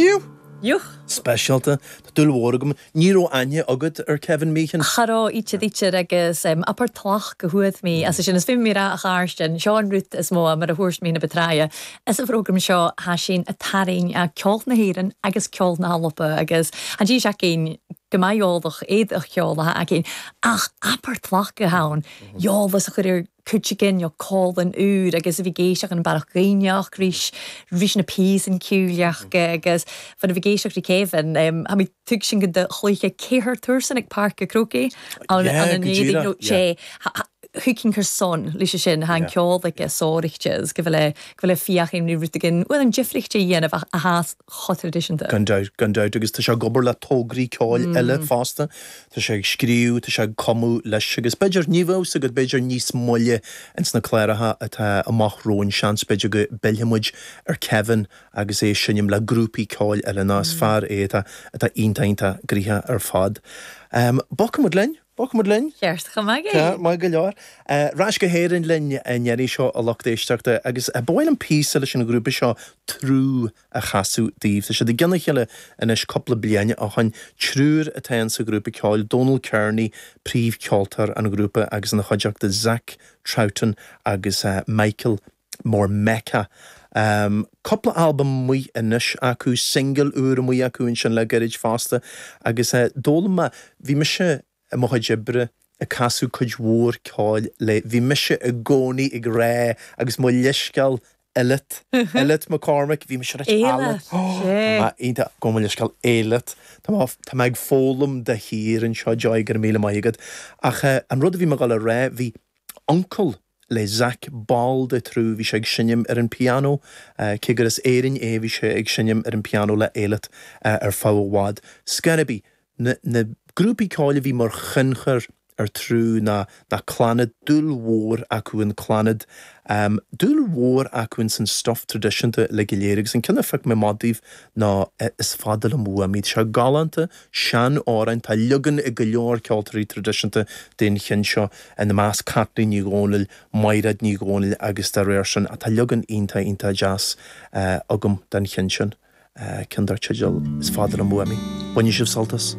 Niu! Yuch! Speisialta. Tá dúil mhór agam. Ní raibh aithne agat ar Kevin Meechan? Cha raibh, íte dítear agus abair tlach go huath mé as sin. Is bhí mé a Chairstin, seo an rud is mó mar a thabhairt mé na betraya. Is an phrógram seo thá sin a tarraing ceol na hÉireann agus ceol na hAlba agus tha dís againn go maith eolach éadach ceol atá againn ach abair tlach go hann eolas a chur ar cuid againn nó cólann úr agus a bhí ag éisteacht an Barrach Gaibhneach rís rís na píosan ciúileach agus fan a bhí ag éisteacht rí Kevin tha mi tug sin go do chluiche céathair tuarsan ag Páirc a' Chrócaigh an Yeah, an go éadaigh díreach, nó yeah. sé thuig cur son leis sin tha an ceol aige sóireachta agus go bhfuil go bhfuil fiach aon rud againn bhfuil an difríocht a dhéanamh ach a thás chomh traidisiúnta. Gan dabht, gan dabht, agus tá sé ag obair le tograí ceoil eile fosta. Tá sé ag scríobh, tá sé ag cumadh leis agus b'fhéidir, ní bheadh fhios agat, b'fhéidir níos moille ins na cláracha atá amach romhainn, seans b'fhéidir go bpillfidh muid ar Kevin agus é ag seinm le grúpaí ceoil eile nó is fear é atá, atá iontach, iontach gnoitheach ar fad. Bogfaidh muid linn, bogfaidh muid linn. Ceart chomh maith é. Maith go leor. Ar ais go hÉirinn linn an iarraidh seo a lucht éisteachta agus ba mhaith liom píosa leis an ghrúpa seo Triúr a chasadh daoibh. Tá siad i gcionn a chéile anois cúpla bliain ó shoin. Triúr atá in sa ghrúpa ceoil, Dónal Kearney, príomhcheoltóir an ghrúpa agus ina chuideachta Zach Troughton agus Michael Mormeca. Cúpla albam amuigh anois acu, singil úr amuigh acu ansin le gairid fosta agus d'fhoghlaim mé, bhí mise i mo chuid oibre ag casadh cuid mhór ceoil le bhí mise i gcónaí ag rá agus mo leithscéal Eilliot, Eilliot McCormick, bhí mise ag rá Eilliot, Tá mé iontach, gabh mo leithscéal Eilliot. Tá mé, tá mé ag foghlaim de shíor anseo, Joy, go raibh míle maith agat. Ach an rud a bhí mé ag dul a rá, bhí uncail le Zach ball de Triúr, bhí sé ag seinm ar an pianó, cé gur as Éirinn é, bhí sé ag seinm ar an pianó le Eilliot ar feadh i bhfad. Scor ar bith, Na na grúpaí ceoil a bhí mar thionchar ar Triúr ná ná Clannad, dúil mhór acu in Clannad, dúil mhór acu ins an stuif traidisiúnta uilig go léir agus an ceann a phioc mé amach daoibh ná Is Fada Liom Uaim Í. Tá sé galánta, sean-amhrán, tá leagan ag go leor ceoltóirí traidisiúnta den cheann seo, ina measc Caitlín Ní Dhomhnaill, Maighread Ní Dhomhnaill agus dá réir sin ach tá leagan iontach iontach deas agam den cheann sin. Ceann dar teideal Is Fada Liom Uaim Í. Bainfidh sibh sult as.